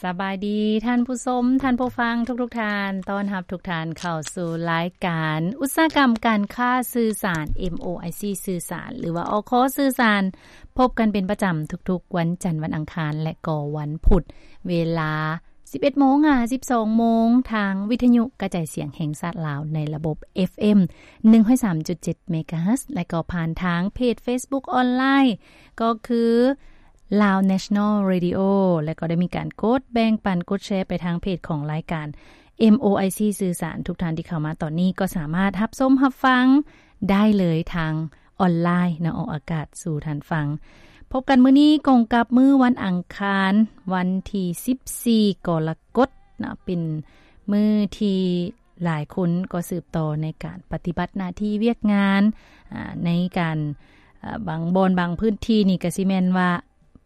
ສະບາຍດີທ່ານຜູ້ຊົມ, ທ່ານຜູ້ຟັງທຸກໆທ່ານ. ຕ້ອນຮັບທຸກທ່ານເຂົ້າສູ່ລາຍການອຸດສາຫະກຳການຄ້າສື່ສານ ເອັມໂອໄອຊີ ສື່ສານ ຫຼືວ່າ ອຄ ສື່ສານ. ພົບກັນເປັນປະຈຳທຸກໆວັນຈັນ, ວັນອັງຄານ ແລະກໍວັນພຸດ ເວລາສິບເອັດໂມງຫາສິບສອງໂມງ ທາງວິທະຍຸກະຈາຍສຽງແຫ່ງຊາດລາວ ໃນລະບົບ ເອັຟເອັມ ໜຶ່ງຮ້ອຍສາມຈຸດເຈັດເມກາເຮີດ ແລະກໍຜ່ານທາງເພຈເຟສບຸກອອນລາຍ ກໍຄື Lao National Radio ແລະກໍໄດ້ມີການກົດແບ່ງປັນ, ກົດແຊໄປທາງເພຈຂອງລາຍການ ເອັມໂອໄອຊີ ສື່ສານ. ທຸກທ່ານທີ່ເຂົ້າມາຕອນນີ້ກໍສາມາດຮັບຊົມຮັບຟັງໄດ້ເລີຍທາງອອນລາຍເນາະ, ອອກອາກາດສູ່ທ່ານຟັງ. ພົບກັນມື້ນີ້ກົງກັບມື້ວັນອັງຄານ ວັນທີສິບສີ່ ກໍລະກົດເນາະ, ເປັນມື້ທີ່ ຫຼາຍຄົນກໍສືບຕໍ່ໃນການປະຕິບັດໜ້າທີ່ວຽກງານ ອາ ໃນການ ອາ ບາງບ່ອນບາງພື້ນທີ່ນີ້ກໍຊິແມ່ນວ່າ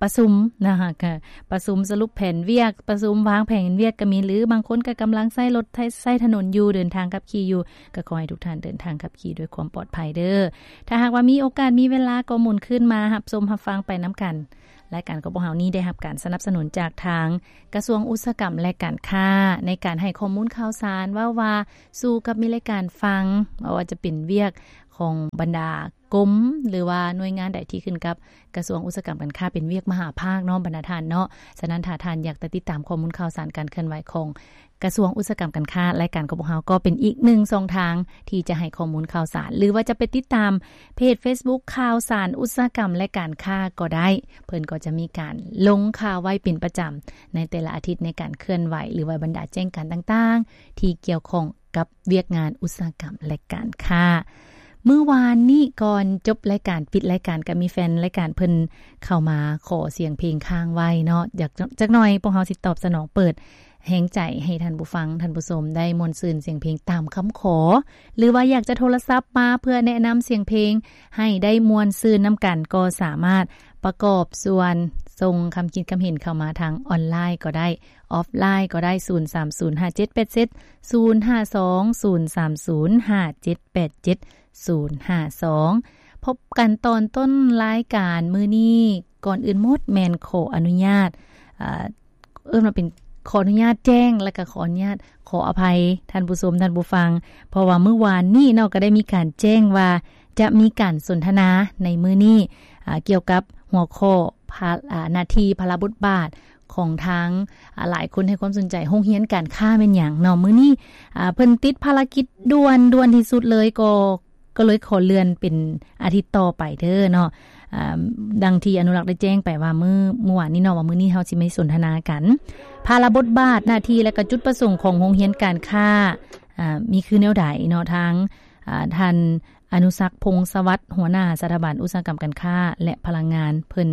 ປະຊຸມນະຄະ, ປະຊຸມສະຫຼຸບແຜນວຽກ, ປະຊຸມວາງແຜນວຽກກໍມີ, ຫຼືບາງຄົນກໍກຳລັງໃຊ້ລົດໃຊ້ ໃຊ້ຖະໜົນຢູ່, ເດີນທາງຂັບຂີ່ຢູ່, ກໍຂໍໃຫ້ທຸກທ່ານເດີນທາງຂັບຂີ່ດ້ວຍຄວາມປອດໄພເດີ້. ຖ້າຫາກວ່າມີໂອກາດມີເວລາກໍໝູນຄືນມາຮັບຊົມຮັບຟັງໄປນຳກັນ. ລາຍການຂອງພວກເຮົານີ້ໄດ້ຮັບການສະໜັບສະໜູນຈາກທາງກະຊວງອຸດສາຫະກຳ ແລະ ການຄ້າ ໃນການໃຫ້ຂໍ້ມູນຂ່າວສານ ເວົ້າວ່າສູ່ກັບມີລາຍການຟັງ, ບໍ່ວ່າຈະເປັນວຽກຂອງບັນດາກົມ ຫຼືວ່າໜ່ວຍງານໃດທີ່ຂຶ້ນກັບກະຊວງອຸດສາຫະກຳການຄ້າ ເປັນວຽກມະຫາພາກເນາະ ບັນດາທ່ານເນາະ. ສະນັ້ນ ຖ້າທ່ານຢາກຈະຕິດຕາມຂໍ້ມູນຂ່າວສານການເຄື່ອນໄຫວຂອງ ກະຊວງອຸດສາຫະກຳການຄ້າ, ລາຍການຂອງພວກເຮົາກໍເປັນອີກໜຶ່ງຊ່ອງທາງທີ່ຈະໃຫ້ຂໍ້ມູນຂ່າວສານ ຫຼືວ່າຈະໄປຕິດຕາມເພຈເຟສບຸກຂ່າວສານອຸດສາຫະກຳ ແລະ ການຄ້າກໍໄດ້. ເພິ່ນກໍຈະມີການລົງຂ່າວໄວ້ເປັນປະຈຳໃນແຕ່ລະອາທິດ ໃນການເຄື່ອນໄຫວ ຫຼືວ່າບັນດາແຈ້ງການຕ່າງໆທີ່ກ່ຽວຂ້ອງກັບວຽກງານອຸດສາຫະກຳ ແລະ ການຄ້າ. ມື້ວານນີ້ກ່ອນຈົບລາຍການ, ປິດລາຍການ, ກໍມີແຟນລາຍການເພິ່ນເຂົ້າມາຂໍສຽງເພງຄ້າງໄວ້ເນາະ. ຈັກ ຈັກໜ່ອຍພວກເຮົາຊິຕອບສະໜອງ, ເປີດແຮງໃຈໃຫ້ທ່ານຜູ້ຟັງ, ທ່ານຜູ້ຊົມໄດ້ມ່ວນຊື່ນສຽງເພງຕາມຄຳຂໍ, ຫຼືວ່າຢາກຈະໂທລະສັບມາເພື່ອແນະນຳສຽງເພງໃຫ້ໄດ້ມ່ວນຊື່ນນຳກັນ, ກໍສາມາດປະກອບສ່ວນສົ່ງຄຳຄິດຄຳເຫັນເຂົ້າມາທາງອອນລາຍກໍໄດ້, ອອຟລາຍກໍໄດ້, ສູນສາມສູນຫ້າເຈັດແປດເຈັດສູນຫ້າສອງ ສູນສາມສູນຫ້າເຈັດແປດເຈັດສູນຫ້າສອງ. ພົບກັນຕອນຕົ້ນລາຍການມື້ນີ້, ກ່ອນອື່ນໝົດແມ່ນຂໍອະນຸຍາດ, ເອີ ເອີ້ນວ່າເປັນ ຂໍອະນຸຍາດແຈ້ງ ແລະກໍຂໍອະນຸຍາດ ຂໍອະໄພທ່ານຜູ້ຊົມ, ທ່ານຜູ້ຟັງ, ເພາະວ່າມື້ວານນີ້ເນາະ ກໍໄດ້ມີການແຈ້ງວ່າຈະມີການສົນທະນາໃນມື້ນີ້ ອາ ກ່ຽວກັບຫົວຂໍ້ພາ ອາ ໜ້າທີ່ ພາລະບົດບາດຂອງທາງ ອາ ຫຼາຍຄົນໃຫ້ຄວາມສົນໃຈ ໂຮງຮຽນການຄ້າແມ່ນຫຍັງເນາະ. ມື້ນີ້ ອາ ເພິ່ນຕິດພາລະກິດດ່ວນ, ດ່ວນທີ່ສຸດເລີຍ ກໍ ກໍເລີຍຂໍເລື່ອນເປັນອາທິດຕໍ່ໄປເດີ້ເນາະ. ອາ ດັ່ງທີ່ອະນຸລັກໄດ້ແຈ້ງໄປວ່າມື້ ມື້ວານນີ້ເນາະ ວ່າມື້ນີ້ເຮົາຊິມາສົນທະນາກັນ ພາລະບົດບາດ, ໜ້າທີ່ ແລະກະຈຸດປະສົງຂອງໂຮງຮຽນການຄ້າ ອາ ມີຄືແນວໃດເນາະ. ທາງ ອາ ທ່ານ ອະນຸສັກ ພົງສະຫວັດ ຫົວໜ້າສະຖາບັນອຸດສາຫະກຳການຄ້າ ແລະ ພະລັງງານ ເພິ່ນ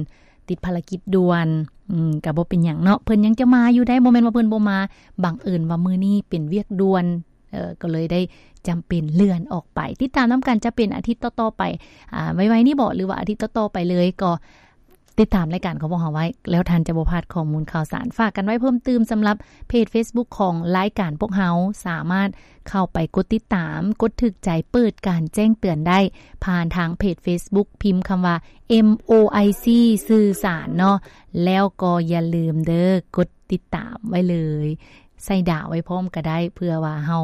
ຕິດພາລະກິດດ່ວນ, ອືມ ກະບໍ່ເປັນຫຍັງເນາະ, ເພິ່ນຍັງຈະມາຢູ່ໄດ໋, ບໍ່ແມ່ນວ່າເພິ່ນບໍ່ມາ, ບັງເອີນວ່າມື້ນີ້ເປັນວຽກດ່ວນ ເອີ ກໍເລີຍໄດ້ຈຳເປັນເລື່ອນອອກໄປ. ຕິດຕາມນຳກັນ ຈະເປັນອາທິດຕໍ່ໆໄປ ອາ ໄວໆນີ້ບໍ ຫຼືວ່າອາທິດຕໍ່ໆໄປເລີຍ, ກໍຕິດຕາມລາຍການຂອງພວກເຮົາໄວ້ ແລ້ວທ່ານຈະບໍ່ພາດຂໍ້ມູນຂ່າວສານ. ຝາກກັນໄວ້ເພີ່ມຕື່ມ ສຳລັບເພຈເຟສບຸກຂອງລາຍການພວກເຮົາ, ສາມາດເຂົ້າໄປກົດຕິດຕາມ, ກົດຖືກໃຈ, ເປີດການແຈ້ງເຕືອນໄດ້ ຜ່ານທາງເພຈເຟສບຸກ, ພິມຄຳວ່າ ເອັມໂອໄອຊີ ສື່ສານເນາະ. ແລ້ວກໍຢ່າລືມເດີ້ ກົດຕິດຕາມໄວ້ເລີຍ, ໃສ່ດາວໄວ້ພ້ອມກໍໄດ້ ເພື່ອວ່າເຮົາ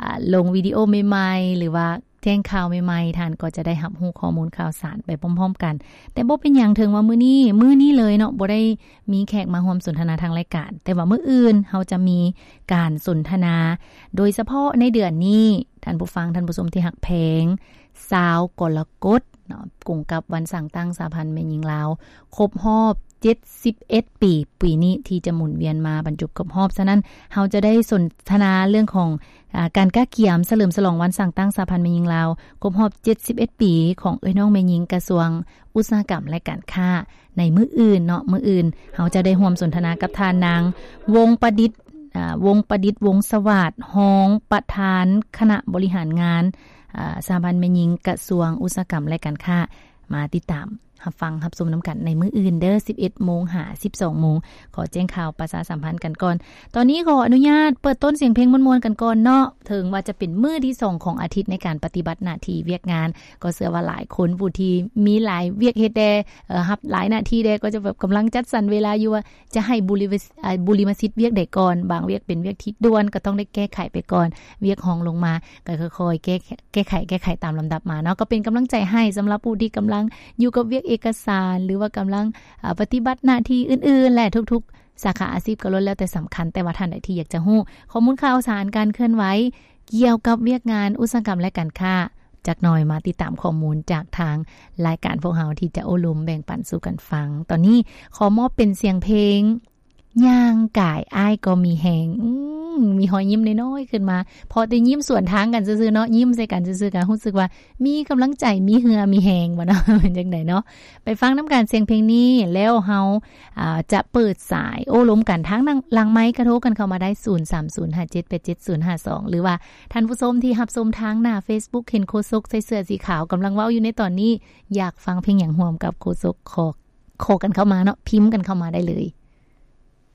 ອາ ລົງວິດີໂອໃໝ່ໆ ຫຼືວ່າແຈ້ງຂ່າວໃໝ່ໆ ທ່ານກໍຈະໄດ້ຮັບຮູ້ຂໍ້ມູນຂ່າວສານໄປພ້ອມໆກັນ. ແຕ່ບໍ່ເປັນຫຍັງ, ເຖິງວ່າມື້ນີ້ ມື້ນີ້ເລີຍເນາະ ບໍ່ໄດ້ມີແຂກມາຮ່ວມສົນທະນາທາງລາຍການ, ແຕ່ວ່າມື້ອື່ນເຮົາຈະມີການສົນທະນາ ໂດຍສະເພາະໃນເດືອນນີ້, ທ່ານຜູ້ຟັງ, ທ່ານຜູ້ຊົມທີ່ຮັກແພງ, ຊາວກໍລະກົດເນາະ, ກົງກັບວັນສ້າງຕັ້ງສະຫະພັນແມ່ຍິງລາວ ຄົບຮອບເຈັດສິບເອັດປີ, ປີນີ້ທີ່ຈະໝູນວຽນມາບັນຈົບຄົບຮອບ. ສະນັ້ນ ເຮົາຈະໄດ້ສົນທະນາເລື່ອງຂອງ ອາ ການກະກຽມສະເຫຼີມສະຫຼອງວັນສ້າງຕັ້ງສະຫະພັນແມ່ຍິງລາວ ຄົບຮອບເຈັດສິບເອັດປີ ຂອງເອື້ອຍນ້ອງແມ່ຍິງກະຊວງອຸດສາຫະກຳ ແລະ ການຄ້າ ໃນມື້ອື່ນເນາະ. ມື້ອື່ນເຮົາຈະໄດ້ຮ່ວມສົນທະນາກັບທ່ານນາງ ວົງປະດິດ ອາ ວົງປະດິດ ວົງສະຫວາດ, ຮອງປະທານຄະນະບໍລິຫານງານ ອາ ສະຫະພັນແມ່ຍິງກະຊວງອຸດສາຫະກຳ ແລະ ການຄ້າ. ມາຕິດຕາມ ຮັບຟັງຮັບຊົມນຳກັນໃນມື້ອື່ນເດີ້ ສິບເອັດໂມງຫາສິບສອງໂມງ. ຂໍແຈ້ງຂ່າວປະຊາສຳພັນກັນກ່ອນ. ຕອນນີ້ຂໍອະນຸຍາດເປີດຕົ້ນສຽງເພງມ່ວນໆກັນກ່ອນເນາະ. ເຖິງວ່າຈະເປັນມື້ທີສອງຂອງອາທິດໃນການປະຕິບັດໜ້າທີ່ວຽກງານ, ກໍເຊື່ອວ່າຫຼາຍຄົນຜູ້ທີ່ມີຫຼາຍວຽກເຮັດແດ່, ເອີ, ຮັບຫຼາຍໜ້າທີ່ແດ່, ກໍຈະແບບກຳລັງຈັດສັນເວລາຢູ່ວ່າຈະໃຫ້ບຸລິເວ- ເອີ, ບຸລິມະສິດວຽກໃດກ່ອນ. ບາງວຽກເປັນວຽກທີ່ດ່ວນ ກໍຕ້ອງໄດ້ແກ້ໄຂໄປກ່ອນ, ວຽກຮອງລົງມາ ກໍຄ່ອຍໆແກ້- ແກ້ໄຂ ແກ້ໄຂຕາມລຳດັບມາເນາະ. ກໍເປັນກຳລັງໃຈໃຫ້ສຳລັບຜູ້ທີ່ກຳລັງຢູ່ກັບວຽກເອກະສານ ຫຼືວ່າກຳລັງ, ເອີ, ປະຕິບັດໜ້າທີ່ອື່ນໆ ແລະ ທຸກໆສາຂາອາຊີບກໍລ້ວນແລ້ວແຕ່ສຳຄັນ. ແຕ່ວ່າທ່ານໃດທີ່ຢາກຈະຮູ້ຂໍ້ມູນຂ່າວສານ ການເຄື່ອນໄຫວກ່ຽວກັບວຽກງານອຸດສາຫະກຳ ແລະ ການຄ້າ, ຈັກໜ່ອຍມາຕິດຕາມຂໍ້ມູນຈາກທາງລາຍການພວກເຮົາທີ່ຈະໂອ້ລົມແບ່ງປັນສູ່ກັນຟັງ. ຕອນນີ້ຂໍມອບເປັນສຽງເພງ ຍ່າງກາຍອ້າຍກໍມີແຮງ. ອືມ ມີຮອຍຍິ້ມນ້ອຍໆຂຶ້ນມາ ເພາະແຕ່ຍິ້ມສວນທາງກັນຊື່ໆເນາະ, ຍິ້ມໃສ່ກັນຊື່ໆ ກໍຮູ້ສຶກວ່າມີກຳລັງໃຈ, ມີເຫື່ອມີແຮງ ວ່າເນາະ, ເປັນຈັ່ງໃດເນາະ. ໄປຟັງນຳກັນສຽງເພງນີ້ ແລ້ວເຮົາ, ອາ, ຈະເປີດສາຍໂອ້ລົມກັນ. ທາງຫຼັງໄມກະໂທກັນເຂົ້າມາໄດ້ ສູນສາມສູນຫ້າເຈັດແປດເຈັດສູນຫ້າສອງ ຫຼືວ່າທ່ານຜູ້ຊົມທີ່ຮັບຊົມທາງໜ້າເຟສບຸກ ເຫັນໂຄສົກໃສ່ເສື້ອສີຂາວກຳລັງເວົ້າຢູ່ໃນຕອນນີ້ ຢາກຟັງເພງຫຍັງຮ່ວມກັບໂຄສົກ ຂໍ ຂໍກັນເຂົ້າມາເນາະ, ພິມກັນເຂົ້າມາໄດ້ເລີຍ.